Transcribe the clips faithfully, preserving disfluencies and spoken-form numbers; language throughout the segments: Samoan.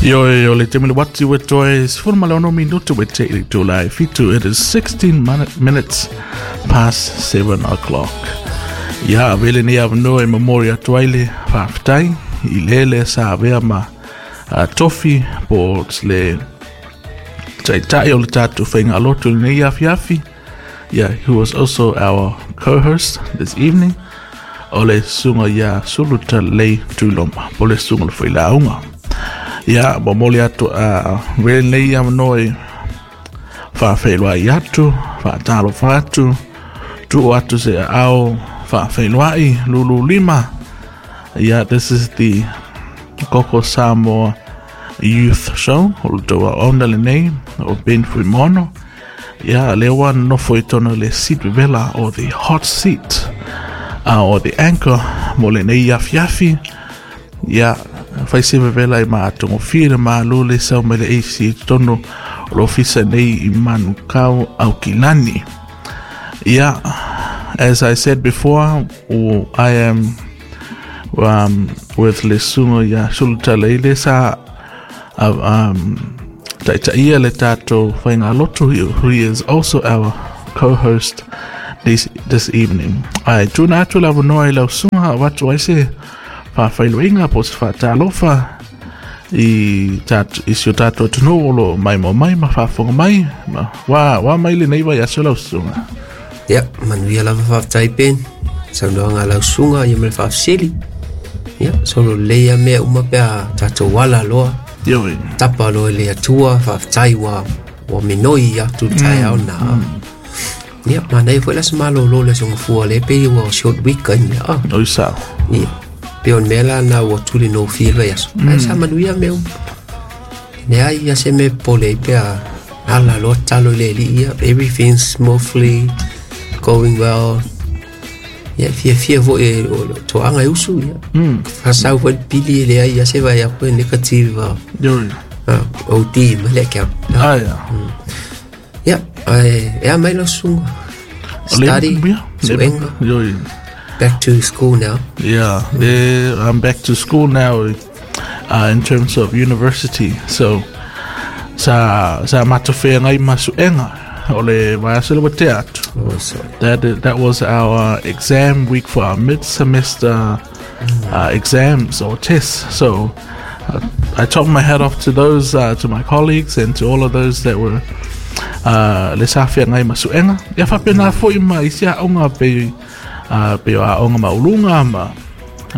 Ioe, o le taimi le uati ua toe sefulu ma le ono minutu ua tea i le itula e fitu. It is sixteen minutes past seven o'clock. Ia, avea lenei avanoa e momoli atu ai le faafetai i le lea sa avea ma uh, tofi po o le taitai o le tatou faigalotu i lenei afiafi. Yeah, who was also our co-host this evening. O le susuga ia Sulutalelei Tuiloma, po o le susuga o le Failauga. Ia, momoli atu a uh, lenei avanoa e faafeiloai atu, faatalofa atu, tuu atu se aao faafeiloai lulu lima. Yeah, this is the Koko Samoa Youth Show, o le tou auauna lenei, o Ben Fuimaono. Ia, lea ua nofo i totonu le seat vevela o the hot seat, uh, or the anchor mo lenei afiafi. Ia, fai se vevela i maatogofie le malo le sau mai le A C i totonu o le ofisa nei i Manukau Aukilani. Yeah, as I said before, I am um, with le susuga ia Sulutalelei le sa uh, um, taitaia le tatou faigalotu, who is also our co-host this, this evening. Ae tuuina atu le avanoa i lau susuga avatu ai se faafeiloaiga po o se faatalofa i, tat, i si o tatou atunuu o lo o maimoa mai ma faafofoga mai. Ma, wa, wa mai lenei vaiaso lau susuga. Ia, manuia lava, faafetai Ben. Saunoaga a lau susuga ia ma le faafesili. Ia, solo lelei a mea uma pe a tatou ala loa. Ioe. Tapa loa i le Atua, faafetai ua ua minoi atu le taeao na. Ia, manaia foi le aso malolo le aso gafua lea pei ua short week ai mea. Ah. Oi sao. Ia, pei o le mea la na ua tuli gofie le vaiaso. Ae sa manuia mea uma. Leai ia se mea popole ai pe a ala loa tatalo i le Alii ia. Everything's smoothly going well. Ia, fiafia foi e o le toaga e usu ia. Faasau foi le pili e leai ia se vaai atu e negative uh, Ioe. uh, O D ma le account. Ah, ia. Ia, ae e a mai lau susuga. Study, suega, Ioe. back to school now. Yeah, yeah, I'm back to school now uh, in terms of university. So, sa sa matou feagai ma suega o le vaiaso le ua tea atu. Oh, sorry. That that was our exam week for our mid-semester uh, exams or tests. So uh, I took my hat off to those, uh, to my colleagues and to all of those that were uh, le sa feagai ma suega. Ia faapena foi ma isi aoga pe uh, pe o aoga maualuga ma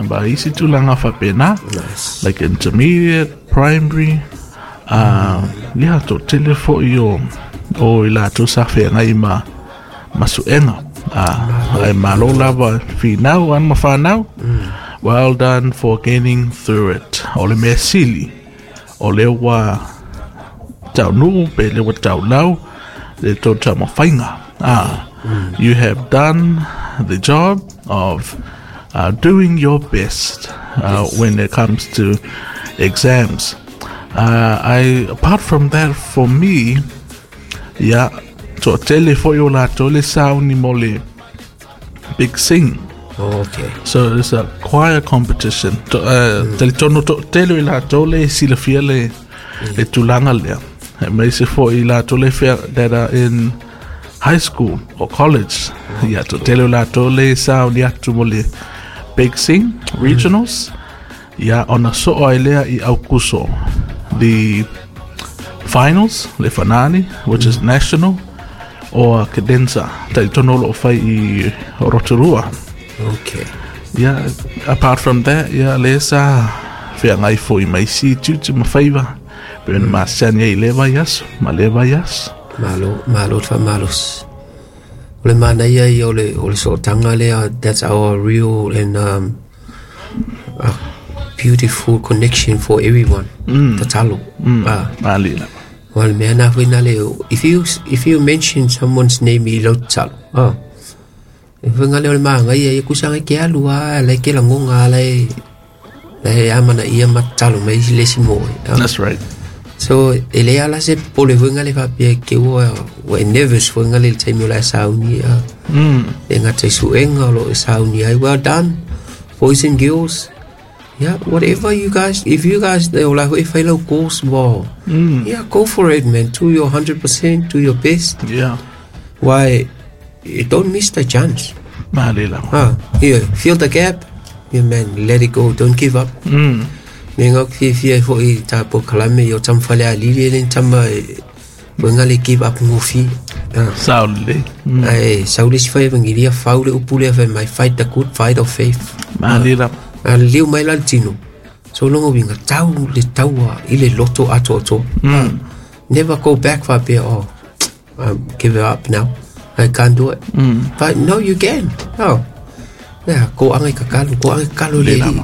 ma isi tulaga faapena. Nice. Like intermediate, primary, uh, ia toatele foi o o i latou sa feagai ma ma suega. Uh, ae malo lava finau alo ma fanau. Well done for getting through it. O le mea sili, o lea ua taunuu pe lea ua taulau le tou taumafaiga. Ah, you have done the job of uh, doing your best uh, when it comes to exams. Uh, I apart from that, for me, yeah, toatele foi o latou le sauni mo le Big Sing. Okay. So it's a choir competition. To, uh, Talitonu toatele i latou le silafia le, le tulaga lea. Aemaise foi i latou le fea that are in high school or college. Ia, toatele o latou le sauni atu mo le Big Sing Regionals. Ia, ona soo ai lea i Aukuso. The finals, le finale, which is national, or cadenza. Talitonu o lo o fai i Rotorua. Okay. Yeah, apart from that, yeah, le sa feagai foi ma isi tiute ma faiva. Pe na masani ai le vaiaso, ma le vaiaso. Malo, malo te faamalosi. O le manaia ia o le, o le sootaga lea, that's our real and um, a beautiful connection for everyone. Mm. Tatalo. Mm. Ah. Mali lava. O le mea na foi na le, if you, if you mention someone's name i lau tatalo, ah. E fai le o le maga ia ia kusanga ke alu a lai ke lagonga lai lai amana ia ma tatalo mai le si mo. Ah. That's right. So, e le ala se pole foi le faapea ke ua ua e nervous foi le taimi o la e sauni a. Mm. E ngata i suega o lo e sauni ai. Well done, boys and girls. Yeah, whatever you guys, if you guys, they all like, if I low course, wow. Mm. Yeah, go for it, man. Do your one hundred percent, do your best. Yeah. Why, you don't miss the chance. Ah, yeah, fill the gap. Yeah, man, let it go. Don't give up. Mm. Me ngā fia fia fo i tā po kalame yo tam whale a lili ele tama wenga le give up ngofi. Sao le. Ai, sao le si whai evangelia whau le upule a whai mai fight the good fight of faith. Mahalila. A leo mai la tino. So longo winga tau le taua i le loto ato ato. Mm. Never go back whapea, oh, I give it up now. I can't do it. Mm. But no, you can. Oh. Yeah, ko angai kakalo, ko angai kakalo le li.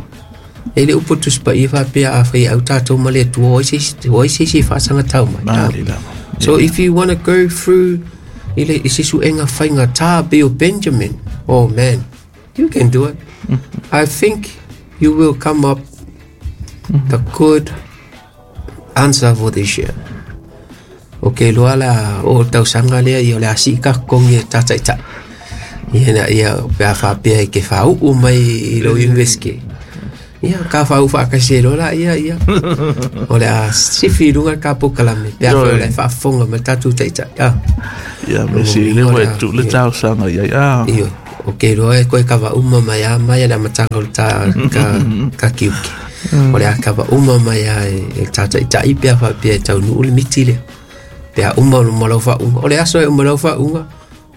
E le upo tuspa i whapea a whai au tātou ma le tua oi se se whaasanga tau mai. Mahalila. So if you want to go through i le i sisu enga whainga tā Bill Benjamin, oh man, you can do it. I think you will come up the good answer for this year. Okay, loa la o tausanga lea i o le asi ka kongi e tata ita. Ia na ia pea whapea i ke whau u mai i lo university. Ia ka whau whakase lola ia ia. O le a sifi runga ka pokalame pea whau le whaafonga ma tatu taita. Ia me si le wai tu le tausanga ia ia. Iyo. Okay, loa e koe kawa uma mai a mai a matanga o ta ka ka kiuki. O le a kawa uma mai a e tata ita i pea whapea e tau nuu le miti lea. Pea uma o malau whaunga. O le aso e uma lau whaunga,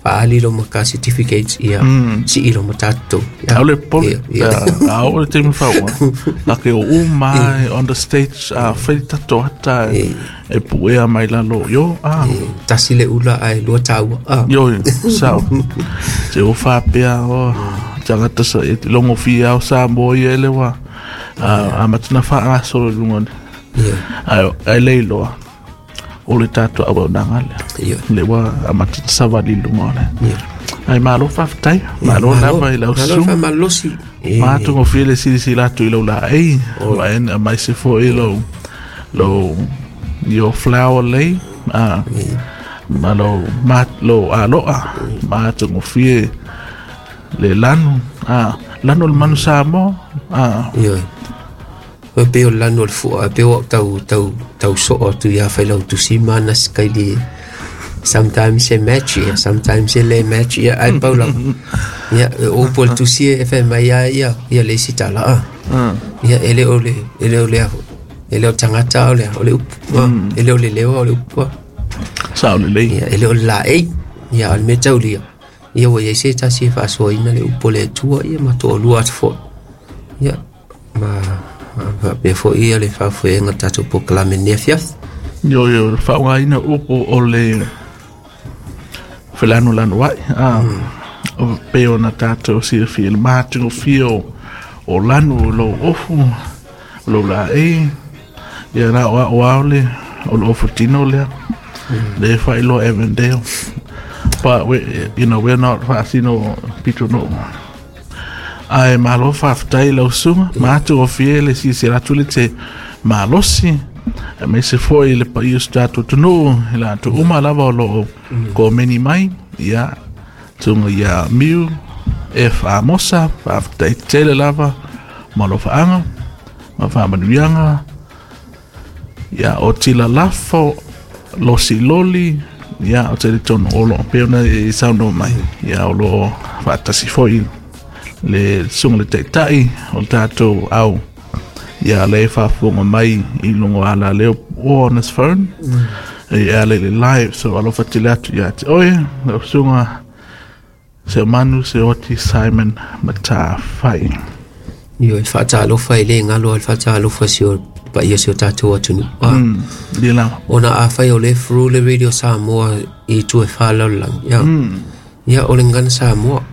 whaali lo maka certificates ia si i lo matato. Au le poli, au le temi whaunga. Lake o umai on the stage, a whai tato hata e puea mai lalo. Yo, ah. Tasi le ula ai lua taua. Yo, sao. Te o whapea, o, tangata sa, e longo fia au sa mo ia ele wa. A matuna wha aso le lunga. Ai leiloa. O le tātua au nanga lea. Le wa a matata sawali lunga lea. Ai malo whawhtai, malo lava i lau Malo sumu. wha malosi. Mātungo fia le siri latu i lau la ei. Wa en a mai se fo i lau, lau, your flower lei. Ah, ma lau, ma, lau aloa. Mātungo fia le lanu. Ah, lanu le manu Samoa. Ah. Ioe. O pe o lanu o le fua, pe o tau, tau, tau so'o atu ia whai lau tusi mana skaili. Sometimes e match ia, sometimes e le match ia, ai pau lava. Ia, o po le tusi e whai mai ia, ia, ia le isi tala a. Ia, ele o le, ele o le, ele o tangata o le, o le upu, ele o le lewa o le upu. Sao le lei. Ia, ele o le la ei, ia, o le me taulia. Ia, o ia se tasi e whaasoaina le upu le tua, ia, ma toa lua atu fo. Ia, ma... Pe fo ia le whaafuenga tātou po kalame nea fiaf. Yo, yo, whaunga ina upo o le whelanu lanu wai. Ah, o peo na tātou si fia le mātungo fia o lanu o lo ofu, o lo la e. Ia rā o ao ao le, o lo ofu tino lea. Le whailoa Avondale. But, we, you know, we're not whaasino pito no. Ai malo whawhtai lau sunga, mātu o fie le si se ratu le te malosi, a me se foi le pai o tātou tunu, i la atu uma lava o loo ko meni mai, ia tunga ia Miu, F. Amosa, whawhtai tele lava, malo whaanga, ma whaamanuianga, ia o tila lafo, losi loli, ia o te tonu o loo peona e sauno mai, ia o loo whaatasi foi le sunga le taitai o tātou au ia le whaafonga mai i lungo ala leo o on his phone i ala le live so alofa tele atu ia te oe le sunga se manu se oti Simon Matawhai. Io e whaatalofa i le ngalo al whaatalofa si o pa ia si o tātou atunu. Mm, le lava. Ona a whai o le fru le radio Samoa i tue whaalalang. Ia, mm. Ia o le ngana Samoa.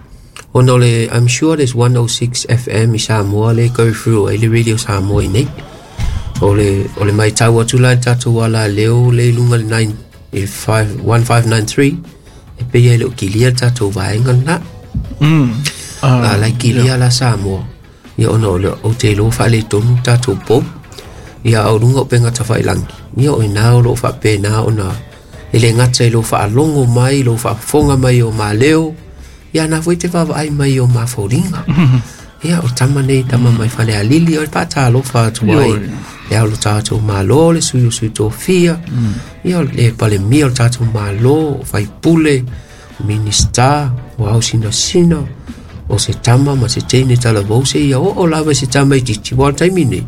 Ona o le, I'm sure there's one oh six F M i Samoa le go through ai le radio Samoa i nei. O le, o le mai tau atu lai tātou ala leo le lunga le nine, five, one five nine three e pei ai le o kilia tātou vaenga na. Mm. Uh, A lai kilia yeah. La Samoa. Ia ona o le o te lo whaale tonu tātou pou. Ia au lunga o penga tawhai langi. Ia o ina o lo whape nā ona e le ngata i lo whaalongo mai, lo whaafonga mai o mā leo. Ia nā fo i te wawa ai mai o mā fauringa. Ia, o tama nei, tama mai Falealili, o le faatalofa atu ai. Le ao lo tatou Malo, le sui o sui tofia, ia, le palemia o le tatou Malo, o faipule, o minista, o au sinasina, o se tama ma se teine talavou se ia oo lava se tama i titi, wa le taimi nei.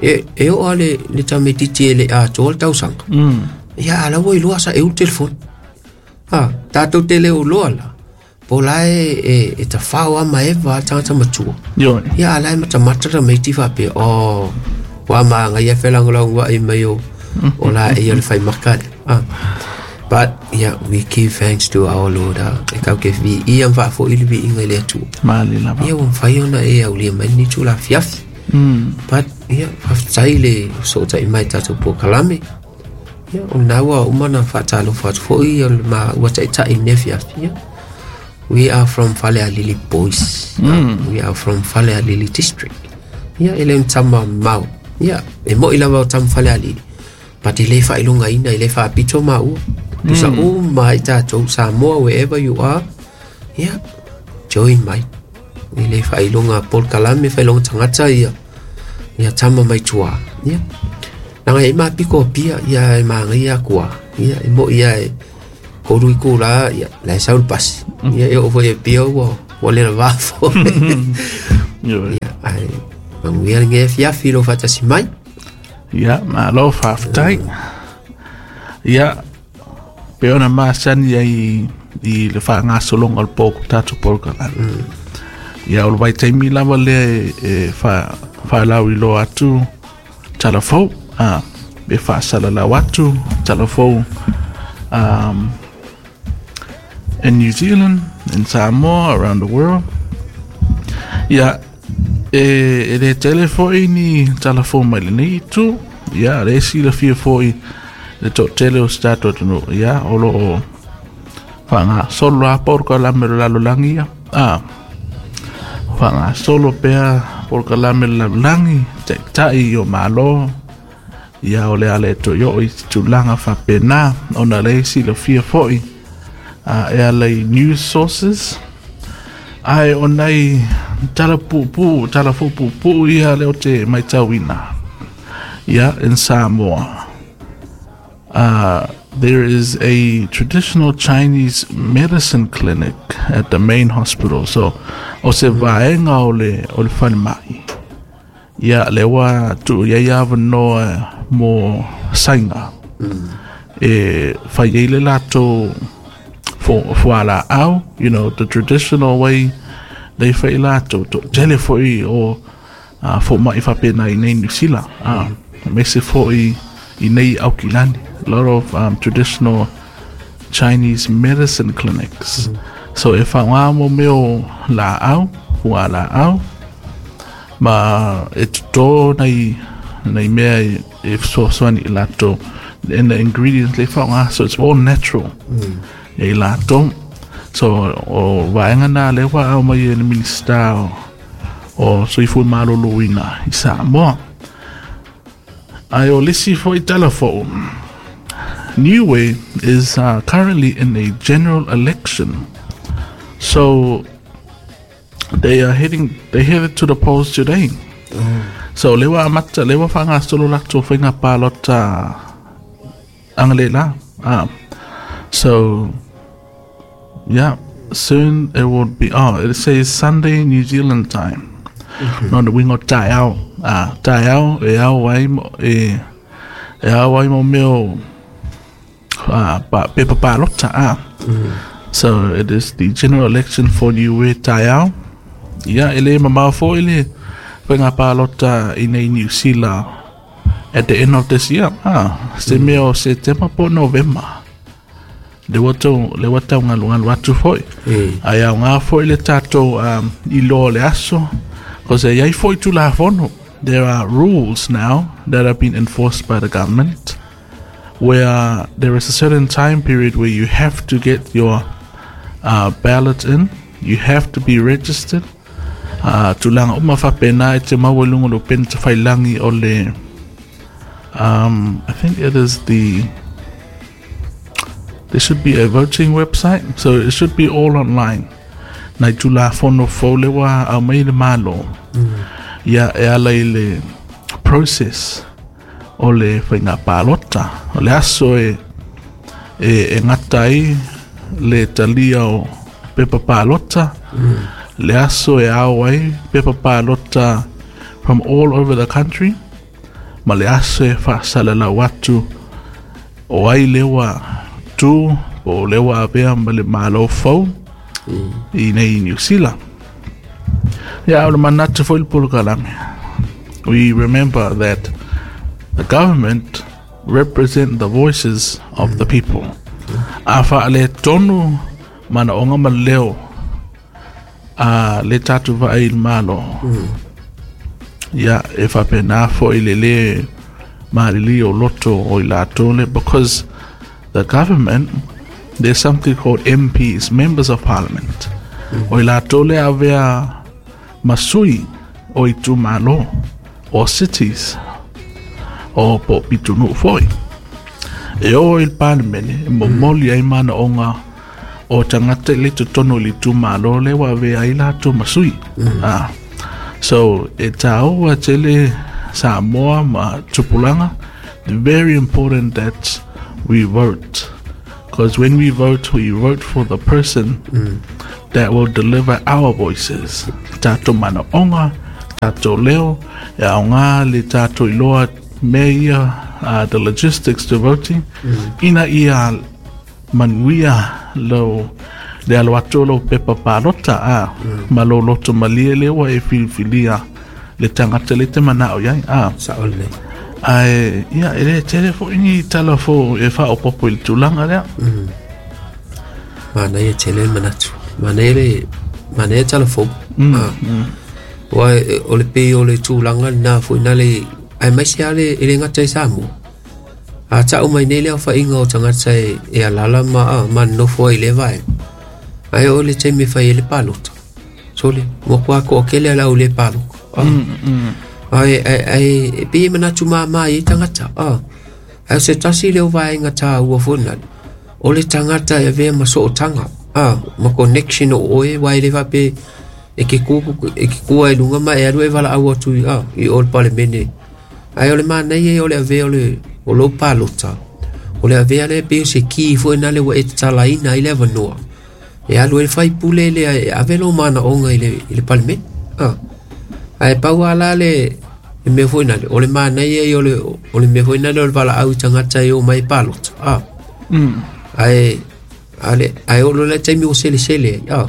E, e oo le, le tama i titi e le atoa le tausaga. Mm. Ia, ala ua iloa sa e ulu telefoni. Ah, tatou te leo loa la. Po la e, e, e tawhao ama eva a tangata matua. Ioe. Ia, ala e matamata la meiti whape. Oh, wa maanga ia whelangolango i mai o, o la e ia le whai makale. Ah. But, yeah, we give thanks to our Lord. Ah. E kau ke vi i am whaafo ili vi inga le atua. Mali lava. Ia, ua mwhai ona e au lia mai ni tū la fiafi. Mm. But, yeah, whaftai le so tai mai tātou po kalame. Ia, o naua umana whaatalo whaatufoi o le ma ua taitai ne fiafi. Yeah. We are from Falealili Boys. Mm. Uh, we are from Falealili District. Ia, ele mtama mau. Ia, e mo ila wau tam Falealili. But ele whailunga ina, ele whaapito maua. Tusa mm. uma i tātou Samoa, wherever you are. Ia, join mai. Ele whailunga Paul Kalame, whailunga tangata ia. Ia tama mai tua. Ia. Nanga e mapiko pia, ia e maangai kua. Ia, e mo ia e koru i kura, ia, la e saul pasi. Ia, e o foi e pia ua, ua lera vafo. Ioe. Ia, ai, manguia nge fiafi lo fatasi mai. Ia, malo whaftai. Ia, pe ona masani ai i le whaangasolonga o le pōku tātou polokalame. Ia, o le waitaimi lava lea e, e wha, whalau i loa atu talafou. Ah, e whaasalalau atu talafou um, in New Zealand, in Samoa, around the world. Ia, e, e le tele foi ni talafou mai lenei itu. Ia, le esi la fia foi le to tele o se tātou atunuu. Ia, o lo o whaangasolo a polokalame le lalolagi ia. Ah, whaangasolo pea polokalame le lalolagi, taitai o malo. Ia, o le ale to yo i tulaga faapena ona le esi la fia foi uh, e ala i news sources. Ai o nei tala pupu, tala pupu ia le o te maitauina. Ia, in Samoa. Uh, there is a traditional Chinese medicine clinic at the main hospital. So, o se vaenga o le, o le whalemai. Ia, le wa tu ia ia wanoa mo sainga. Mm. E whai eile lato fuala au, you know, the traditional way they whai lato, to tele foi o uh, fo mai whapena i nei New Zealand. Uh, mm. Me se foi i nei Aukilani. A lot of um, traditional Chinese medicine clinics. Mm. So e wha mo meo la au, fua la au, ma e tuto nei nei mea e, e fesoasoani i latou and the ingredients le whaonga, so it's all natural. Mm. E i latou. So o vaenga nā le wa au mai e le minista o, o Soifua Maloloina i Samoa. Ai o lisi foi talafou. Niue is uh, currently in a general election. So they are heading they headed to the polls today. Mm. So lewa amata lewa whangasolo lato whainga palota angalela. Ah. So yeah, soon it will be, oh, it says Sunday New Zealand time. Mm-hmm. No the wingo tai ao. Ah, tai ao e ao ai mo e e ao ai mo meo ah pa pepa palota ah. Mm. So it is the general election for Niue tai ao. Ia, ele mamao fo ele whainga palota i nei New Zealand at the end of this year. Ah, se Mm. meo se tema po November. Le wato, le wato ngalu ngalu atu foi. Mm. Ai au ngā foi le tātou um, i loa le aso. Cause e iai foi tū la fono. There are rules now that have been enforced by the government where there is a certain time period where you have to get your uh, ballot in. You have to be registered. Uh, tulaga uma faapena e te maua i luga o le upena tafailangi o le um, I think it is the there should be a voting website, so it should be all online. nai tulafono fou le ua aumai le Malo. Ia e ala i le process o le faiga palota. O le aso e e, e gata ai le talia o pepa palota, le aso e ao ai pepa palota from all over the country, ma le aso e faasalalau atu o ai le ua tu po o le ua avea ma le Malo fou i nei Niu Sila. Ia, o le manatu foi le polokalame. We remember that the government represent the voices of the people. A faaletonu manaoga ma leo a le tatou vaai i le Malo. Ia, e faapena foi le lē malili o loto o i latou le, because the government, there's something called M Ps, Members of Parliament. O i latou le avea ma sui o itumalo o cities o po pitonuu foi. E o i le Palemene e momoli ai manaoga o tagata i le totonu i le itumalo le ua avea ai latou ma sui. Ah. So, e tāua tele Samoa ma tupulaga, very important that we vote. Because when we vote, we vote for the person that will deliver our voices. Tātou manaoga, tātou leo, e aoga le tātou iloa mea ia, uh, the logistics to voting, ina ia manuia lo le alo atu o lou pepa palota a ma lou loto malie le ua e filifilia le tagata le te manao iai a. Sao lelei. Ae ia e le tele foi ni tala fou e faaopopo i le tulaga lea. Manaia tele le manatu. Manaia le manaia tala fou. Ah. Ua e- o le pei o le tulaga lena foi na le aemaise a le e le gata i Samoa. A ta'u mai nei le aofaiga o tagata e, e alala ma a, ma nofo ai le vaega. Ae o le taimi e fai ai le palota. Sole, ua kua to'atele ala au le palota. Ah. Ae ae ae e pei e manatu māmā i tagata. Ah. Ae o se tasi leo vaega tāua foi na. O le tagata e avea ma sootaga. Ah, ma connection o oe wa e le faapea e ke ku e ke kua e luga ma e alu e valaau atu i ah, i o le palemene. Ae o le manaia ia o le avea o le o lou palota. O le avea le pei o se ki foi na le ua e tatalaina ai le avanoa. E alu e le faipule lea e ave lou manaoga i le, i le palemene. Ah. Ae pau ala le le mea foi nale, o le manaia ia o le, o le mea foi nale o le valaau i tagata e o mai e palota. Ah. Ae, ale, ae o lo le taimi o selesele ai. Ah.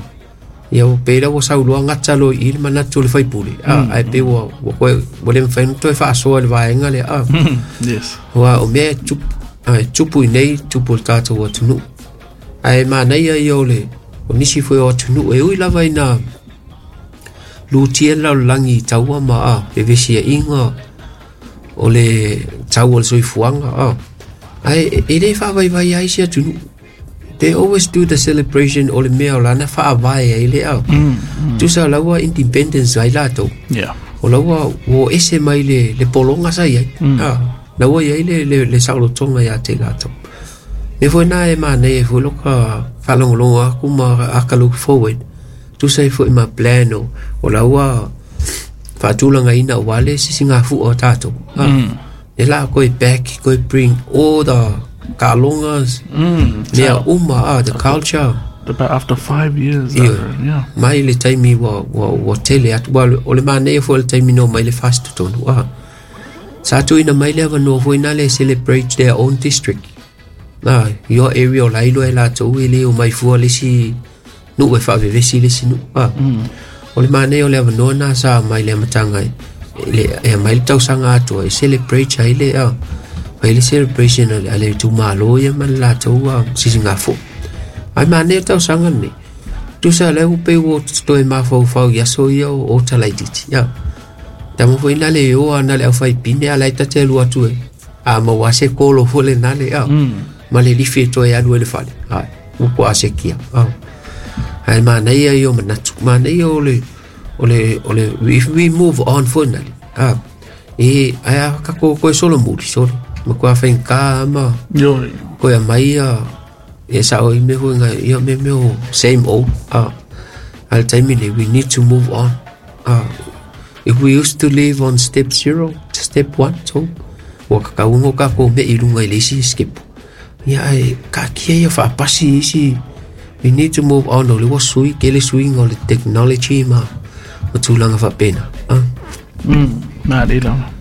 Ia o pe la ua sauloa gata loa i i le manatu o le faipule. Ah, ae pe ua, ua koe, ua le mafai ona toe faasoa i le vaega lea. Ah. Yes. Ua o mea e tupu, ai, tupu i nei, tupu i le tatou atunuu. Ae manaia ia o le, o nisi foi o atunuu e ui lava ina lutia le lalolagi i taua ma a, fevesiaiga o le tau o le soifuaga a. Ae e le faavaivai ai se atunuu. They always do the celebration o le mea o lana faavae ai le a. Tusa laua independence ai latou. Yeah. O laua ua ese mai le, le pologa sa iai. Mm. Na ua iai le, le, le saolotoga ia te latou. Me foi na e manaia ai foi loka faalogologo aku ma aka look forward. Tusa ai foi ma plan o, o laua faatulagaina aua le sisigafua o tatou. Ah. Mm. E la koe back, koe bring all the kaalogas, Mm. mea uma, ah, the culture. About after five years. Ia. uh, yeah. Mai le taimi ua, ua, ua tele atu, ua, o le manaia foi le taimi no mai le fast tonu. Ah. Sa tuuina mai le avanoa foi na le celebrate their own district. Na, your area o lailo e latou e le o mai fua le isi nuu e faavevesi le isi nuu. Ah. Mm. O le manaia o le avanoa na sa mai le amataga e, le, e mai le tausaga atoa e celebrate ai le, ah, fai le celebration a le, a le itumalo ia ma le latou ah, sisigafua. Ai manaia le tausaga lenei. Tusa le ua pei ua toe mafaufau i aso ia o, o talaititi. Ia. Tama foi na le oa na le au pine ala e tate alu atu e. A maua se kolo foi le na le a. Ma le lifi e toe alu e le fale. Ai, upo a se kia. Ah. Ai manaia ia o manatu. Manaia o le, o le, o le, if we move on foi na le. Ah. E, ai a kako koe solo muli, solo. Ma koe a whainga ma Yo. koe a mai a e sao i me foi ngai ia me me o same old. Ah. A le taimi nei, we need to move on. Uh, if we used to live on step zero, step one, two, ua kakauga o kakou me'i i luga i le isi skepu. Ia ae kaatia ia faapasi isi. We need to move on. O le ua sui, kele suiga o le technology ma ma tulaga faapena. Ah. Mm, na le lava.